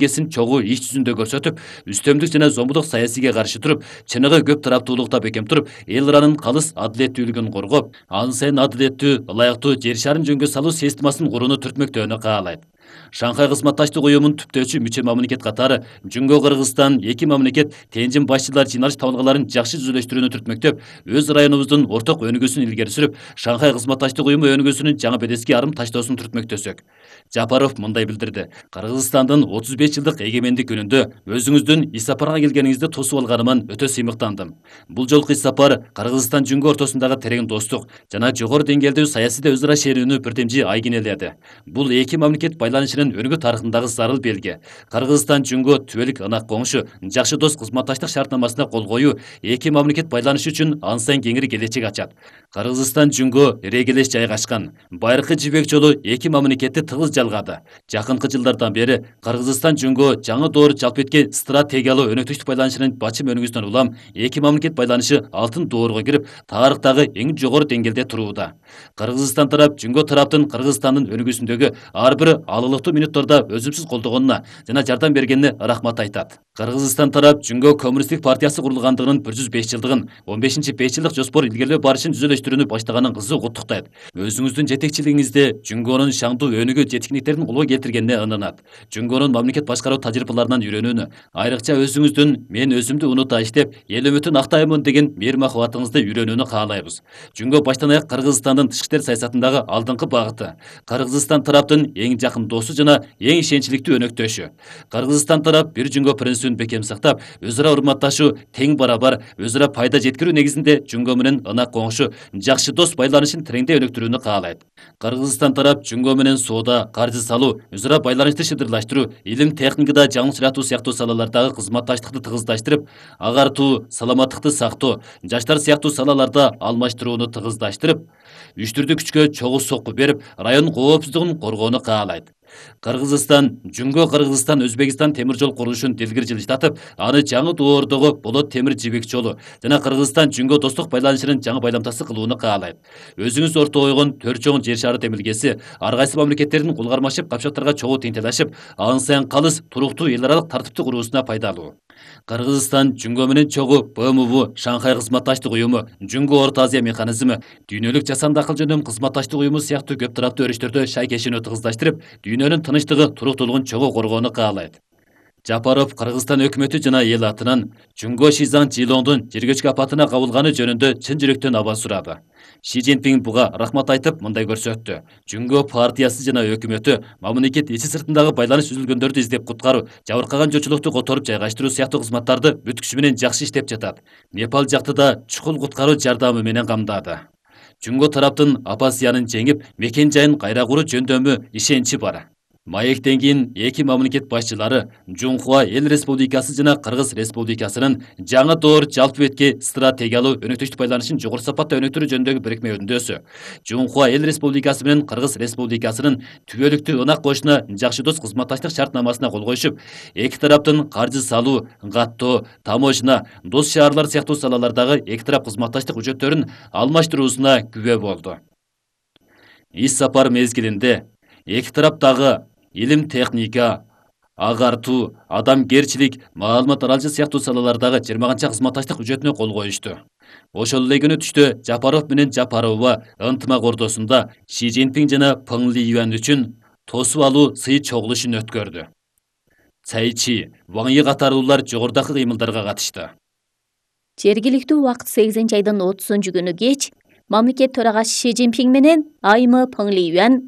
Кесин чогуу иш жүзүндө көрсөтүп, үстөмдүк жана зомбулук саясийге каршы туруп, чыныгы көп тараптуулукта бекем туруп, эл ыранын калыс адилеттүүлүгүн коргоп, ан сайын адилеттүү, ылайыктуу жер шарын жөнгө салуу системасын курууну түртмөктөөнү каалайт. Шанхай кызматташтык уюмунун түптөөчү мүчө мамлекет катары Жумго Кыргызстан эки мамлекет тенжим башчылар жыйналыш табылгаларын жакшы түзүлүштүрүүнү түртмөктөп, өз районубуздун орток өнүгүүсүн илгери сүрүп, Шанхай кызматташтык уюму өнүгүүсүнүн жаңы бедески арым таштоосун түртмөктөсөк. Жапаров мындай билдирди: Кыргызстандын 35 жылдык эгемендик күнүндө өзүңүздүн иш сапарга келгениңизди тосуп алганыман өтө сыймыктандым. Бул жолку иш сапар Кыргызстан Жумго ортосундагы терең достук жана жогору деңгээлдүү саясий өз ара шерүүнү бирдемжи айгинеледи. Бул эки мамлекет байланышынын өнүгүү тарыхындагы зарыл белги. Кыргызстан Жумго түбөлүк ынак коңшу, жакшы дос кызматташтык шартнамасына кол коюу эки мамлекет байланышы үчүн ан сайын кеңири келечек ачат. Кыргызстан Жумго ирегелеш жайгашкан. Байыркы жибек жолу эки мамлекетти тыгыз жалгады. Жакынкы жылдардан бери Кыргызстан Жумго жаңы доор жалп эткен стратегиялуу өнөктүштүк байланышынын бачым өнүгүүсүнөн улам эки мамлекет байланышы алтын доорго кирип, тарыхтагы эң жогору деңгээлде турууда. Кыргызстан тарап Жумго тараптын Кыргызстандын өнүгүүсүндөгү ар бир алылыктуу мүнөттөрдө өзүмсүз колдогонуна жана жардам бергенине рахмат айтат. Кыргызстан тарап Жумго коммунисттик партиясы курулгандыгынын 105 жылдыгын, 15-5 жылдык жоспор илгерилөө барышын түзүлүштүрүүнү баштаганын кызуу куттуктайт. Өзүңүздүн жетекчилигиңизде Жумгонун шаңдуу өнүгүү жеткиндиктерин колго келтиргенине ынанат. Жумгонун мамлекет башкаруу тажрыйбаларынан үйрөнүүнү, айрыкча өзүңүздүн мен өзүмдү унута иштеп, эл үмүтүн актаймын деген мээри махабатыңызды үйрөнүүнү каалайбыз. Жумго баштан аяк Кыргызстандын тышкы иштер саясатындагы алдыңкы багыты. Кыргызстан тараптын эң жакын досу жана эң ишеничиликтүү өнөктөшү. Кыргызстан тарап бир Жумго принцибин бекем сактап, өз ара урматташуу, тең барабар, өз ара пайда жеткирүү негизинде Жумго менен ынак коңшу, жакшы дос байланышын тереңдей өнүктүрүүнү каалайт. Кыргызстан тарап Жумго менен соода, каржы салуу, өз ара байланышты шыдырлаштыруу, илим техникада жаңы сүрөтүү сыяктуу салалардагы кызматташтыкты тыгыздаштырып, агартуу, саламаттыкты сактоо, жаштар сыяктуу салаларда алмаштырууну тыгыздаштырып, үчтүрдүү күчкө чогуу сокку берип, район коопсуздугун коргоону каалайт. Кыргызстан Жумго Кыргызстан Өзбекстан темир жол курулушун дилгир жылыштатып, аны жаңы доордогу болот темир жибек жолу жана Кыргызстан Жумго достук байланышынын жаңы байламтасы кылууну каалайт. Өзүңүз орто ойгон төрт чоң жер шары демилгеси ар кайсы мамлекеттердин кулгармашып капчактарга чогуу тең талашып, ан сайын калыс туруктуу эл аралык тартипти куруусуна пайдалуу. Кыргызстан Жумго менен чогуу БМУ, Шанхай кызматташтык уюму, Жумго Орто Азия механизми, дүйнөлүк жасанды акыл жөндөм кызматташтык уюму сыяктуу көп тараптуу өрүштөрдө шайкешүүнү тыгыздаштырып, дүйнөнүн тынчтыгы, туруктуулугун чогуу коргоону каалайт. Жапаров Кыргызстан өкмөтү жана эл атынан Жумго Шизаң Жилоңдун жергечке апатына кабылганы жөнүндө чын жүрөктөн аба сурады. Ши Цзиньпин буга рахмат айтып, мындай көрсөттү: Жумго партиясы жана өкмөтү мамлекет ичи сыртындагы байланыш үзүлгөндөрдү издеп куткаруу, жабыркаган жочулукту которуп жайгаштыруу сыяктуу кызматтарды бүт күчү менен жакшы иштеп жатат. Непал жакты да чукул куткаруу жардамы менен камдады. Жумго тараптын оппозициянын жеңип, мекен жайын кайра куруу жөндөмү ишеничи бар. Маектен кийин эки мамлекет башчылары Жунхуа Эл Республикасы жана Кыргыз Республикасынын жаңы доор жалпы этке стратегиялуу өнөктөштүк байланышын жогору сапатта өнүктүрүү жөнүндөгү бирикме өндөөсү. Жунхуа Эл Республикасы менен Кыргыз Республикасынын түбөлүктүү ынак коюшуна жакшы дос кызматташтык шартнамасына кол коюшуп, эки тараптын каржы салуу, каттоо, таможня, дос шаарлар сыяктуу салалардагы эки тарап кызматташтык үчөттөрүн алмаштыруусуна күбө болду. Иш сапар мезгилинде эки тараптагы илим техника, агартуу, адамгерчилик, маалымат аралышы сыяктуу салалардагы 20 кызматташтык үчөтүнө кол коюшту. Ошол эле күнү түштө Жапаров менен Жапарова ынтымак ортосунда Ши Цзиньпин жана Пeng Liyuan үчүн тосуп алуу сый чогулушун өткөрдү. Цай Чи, Ваң Yi катарлуулар жогорудагы кыймылдарга катышты. Жергиликтүү убакыт 8 айдын 30 күнү кеч мамлекет төрагасы Ши Цзиньпин менен айымы Пeng Liyuan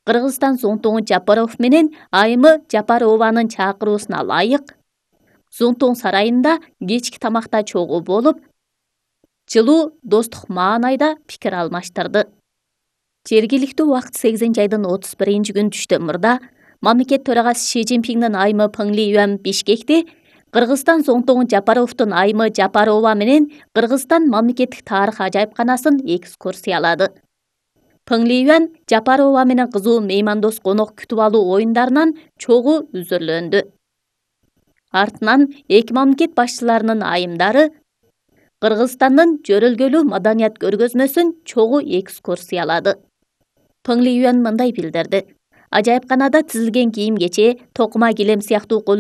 Кыргызстан Зуңтуң Жапаров менен айымы Жапарованын чакыруусуна ылайык Зуңтуң сарайында кечки тамакта чогуу болуп, жылуу достук маанайда пикир алмаштырды. Жергиликтүү убакыт 8 айдын 31 күнү түштө мурда мамлекет төрагасы Ши Цзиньпиндин айымы Пeng Liyuan Бишкекти Кыргызстан Зуңтуң Жапаровдун айымы Жапарова менен Кыргызстан мамлекеттик тарых ажайыпканасын экскурсиялады. Пeng Liyuan Жапарова менен кызуу меймандос конок күтүп алуу оюндарынан чогуу үзүрлөндү. Артынан эки мамлекет башчыларынын айымдары Кыргызстандын жөрөлгөлүү маданият көргөзмөсүн чогуу экскурсиялады. Peng Liyuan мындай билдирди: Ажайыпканада тизилген кийим-кече, токума килем сыяктуу